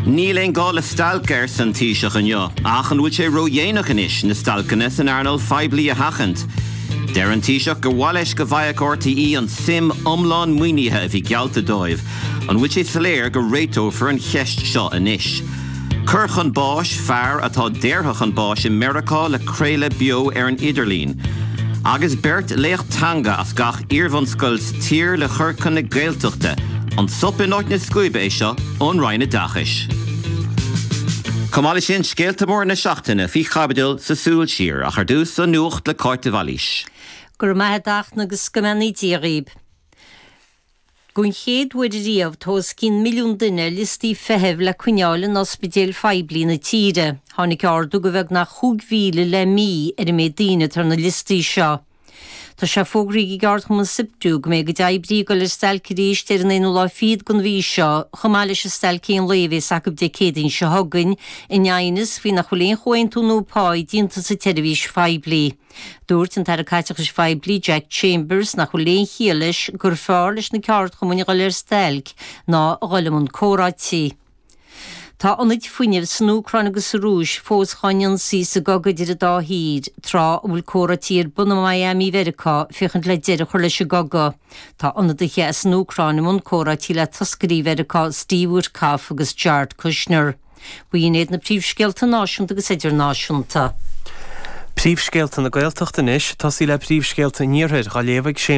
Níl aon gá le stailc, arsa an Taoiseach inniu, ach an bhfuil sé ródhéanach anois na stailceanna san earnáil phoiblí a sheachaint? Deir an Taoiseach gur mhaith leis go bhfaigheadh RTÉ an tsuim iomlán maoinithe a bhí geallta dóibh. An bhfuil sé soiléir go réiteofar an cheist seo anois? Cur chun báis, fear atá daortha chun báis i Meiriceá le craoladh beo ar an idirlíon. Agus beirt laoch teanga as gach iarbhunscoil sa tír le cur chun na Gaeltachta, an sop in áit na scuaibe é seo ón Roinn Oideachais? Chomh maith leis sin, scéalta móra na seachtaine faoi chaibidil sa Súil Siar, ach ar dtús, an nuacht le Cáit de Bhailís. Go raibh maith a't a Fhachtna agus go mbeannaí Dia dhaoib. Don chéad uair riamh tá os cionn milliún duine ar liostaí feithimh le coinneáil in ospidéil phoiblí na tíre. Tháinig ardú de bheagnach 5,000 le mí ar an méid daoine atá ar na liostaí seo. Tá sé fógraithe ag ceardchumann Siptu go mbeidh a gcuid oibrithe ag dul ar stailc arís ar an aonú lá fichead den mhí seo, chomh maith leis an stailc aon lae a bhéas acu Dé Céadaoin seo chugainn, in aighneas faoi nach bhfuil aon chomhaontú nua páí déanta sa tseirbhís phoiblí. Dúirt an tAire Caiteachais Phoiblí Jack Chambers nach bhfuil aon chiall leis gur fearr leis na ceardchumainn a dhul ar stailc ná a dhul i mbun comhráití. Tá ionaid fuinnimh san Úcráin agus sa Rúis fós dhá n-ionsaí sa gcogadh idir an dá thír, tráth a bhfuil comhráití ar bun i Miami Mheiriceá féachaint le deireadh a chur leis an gcogadh. Tá ionadaithe as an Úcráin i mbun comhráití le toscairí Mheiriceá Steve Witkoff agus Jared Kushner. B'in iad na príomhscéalta náisiúnta agus idirnáisiúnta. Príomhscéalta na Gaeltachta anois, tosaí le príomhscéalta an Iarthair, á léamh ag Séamus.